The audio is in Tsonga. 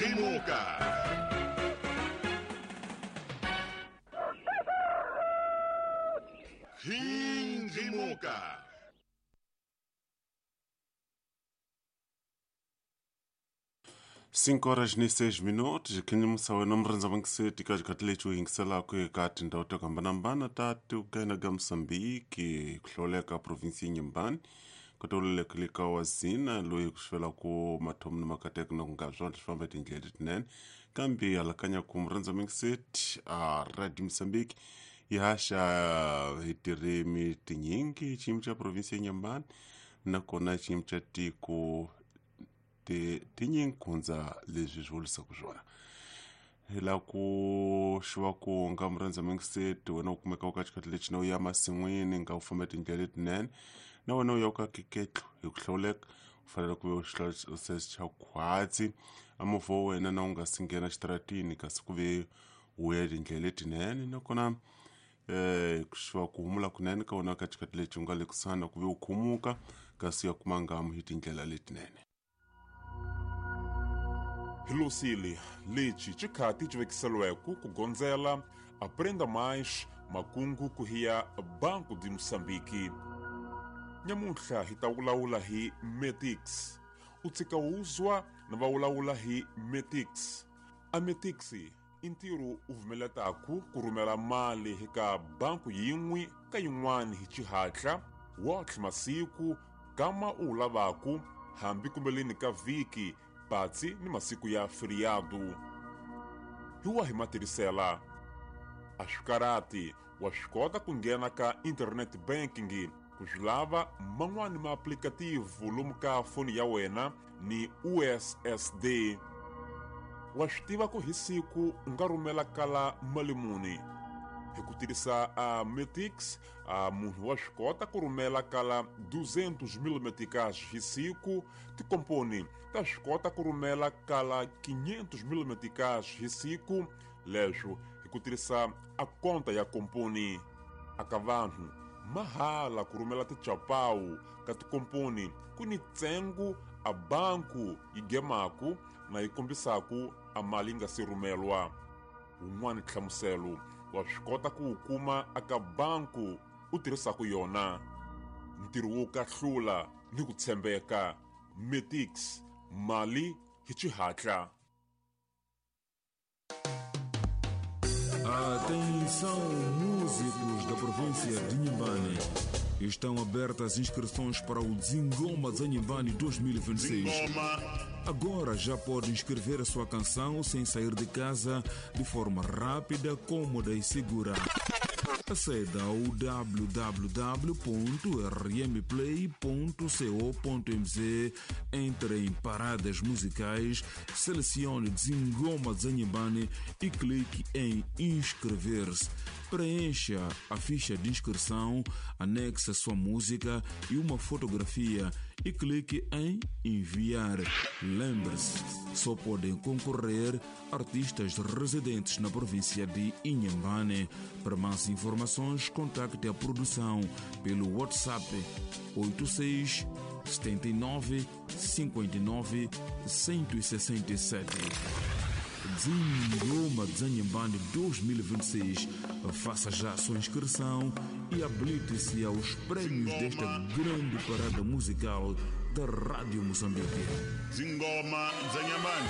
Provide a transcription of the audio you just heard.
Rimuka. Rimuka. 5:06 khinyimisa wena murhandza vangiseti ka xikhathi lexi u yingiselaka eka tindhawu to hambanahambana ta tikena ka Mozambique ku hlawuleka provinsi ya Inhambane kutoluleka wa zina loyi ku xivela ku mathomo ni makateko na ku nga swona swi famba tindlela letinene kambe alakanya ku murhandza mingiseti a Radio Mozambique yi haxa hi tirimi tinyingi xiyimo xa provinsi ya Inhambane nakona xiyimo xa tiko tinyingi ku hundza leswi swi vulisaka swona hi la ku xiva ku nga murhandza mingiseti wena u kumeka u ka xikhathi lexi na u ya masin'wini nga u famba tindlela letinene na wena u ya u ka keketlo hi ku hlawuleka u fanele ku ve u xihlawulese xa khwatsi a movha wa wena na u nga si nghena xitaratini kasi ku ve u ya tindlela letinene nakona ku xiva ku humula kunene ka wena ka xikhathi lexi u nga le kusuhani na ku ve u khumuka kasi u ya kuma ngamu hi tindlela letinene. Hilosile lexi xikhati xi vekiseliweke ku gondzela Aprenda Mais makungu ku hiya Banco de Moçambique. Nyamuntlha hi ta vulavula hi Metix. U tshika uzwa na va vulavula hi Metix. A Metix i ntirho u vumeletaku ku rhumela mali eka banku yin'we ka yin'wana hi xihatla wotlhe masiku kama u wu lavaku hambi kumbeleni ka vhiki patsi ni masiku ya feriado. Hi wahi matirhisela? A swi karati wa swi kota ku nghena ka internet banking ku swi lava man'wani maaplikativu lomu ka foni ya wena ni USSD. Wa swi tiva ku hi siku u nga rhumela kala mali muni hi ku tirhisa a Metix. A munhu wa swi kota ku rhumela kala 200,000 meticais hi siku. Tikomponi ta swi kota ku rhumela kala 500,000 meticais hi siku, leswo hi ku tirhisa a konta ya komponi. Aka vanhu mahala ku rhumela tichapawu ka tikomponi ku ni ntsengo a banku yi gemaku na yi kombisaku a mali yi nga si rhumelwa. Wun'wana nhlamuselo wa swi kota ku wu kuma aka banku u tirhisaka yona. Ntirho wo kahlula ni ku tshembeka. Metix, mali hi xihatla. Atenção, músicos da província de Inhambane. Estão abertas inscrições para o Zingoma Zanhambane 2026. Agora já pode inscrever a sua canção sem sair de casa, de forma rápida, cômoda e segura. Aceda ao www.rmplay.co.mz, entre em paradas musicais, selecione Zingoma Zanhambane e clique em inscrever-se. Preencha a ficha de inscrição, anexe a sua música e uma fotografia e clique em enviar. Lembre-se, só podem concorrer artistas residentes na província de Inhambane. Para mais informações, contacte a produção pelo WhatsApp 86 79 59 167. Zingoma Zanhambane 2026. Faça já a sua inscrição e habilite-se aos prêmios desta grande parada musical da Rádio Moçambique. Zingoma Zanhambane.